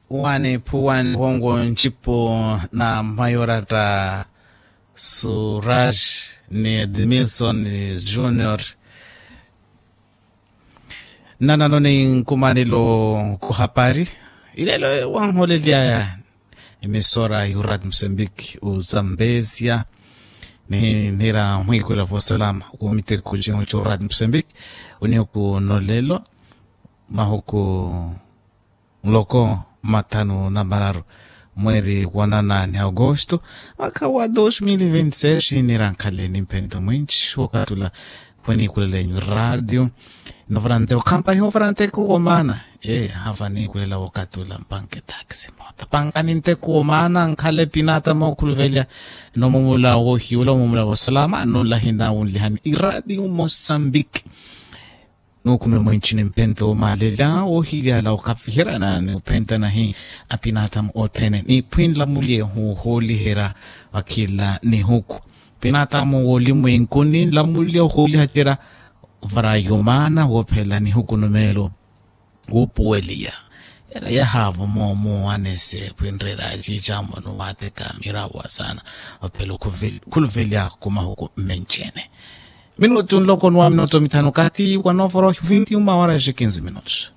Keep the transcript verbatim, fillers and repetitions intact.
Wani phuwani wongo ncipo na mayoratta suraj ni edmilson junior. Nnanano ni nkumanelo kuhapari ilelo wanholelyaya emisora yurad musembik uzambezia ni nira mwikula vosalama. Kumiteko cihu curad musembik unihuku nolelo mahuku muloko mathanu na mararu mweri wa nana ni agosto mwaka wa dos mil vinti seis. Nira nkhaleni mpento mwinci wokatula khwenikulele nyu radio. Novarante okhampa iho varante kuwo maana e hava nikulela wokatula mpanke taxi mota panka ninte kuwo maana nkhale pinata mokhuluvelya nomumula wohiwula omumula wosalama nolahi nawunlihani iradio mosambiki. Nuukume mwenci ni mpento womaalelya woohilyala okafiherana ni ophentana hi apinatamu othene niphwinla mulye huuhooliherya wa khila nihuku. Pinatamu woolimwenkuni nla mulye ohoolihacerya varayo maana woophela nihuku numeelo wuupuweliya. Era yahaavo moomo anese khwinrera ciicamoni waateka mirawa saana ophela okhuluvelya kumahuku mmencene. Minutu nloko nuwa minutu mithanu kati wa novorohi vinti uma wara ya quinze minutos.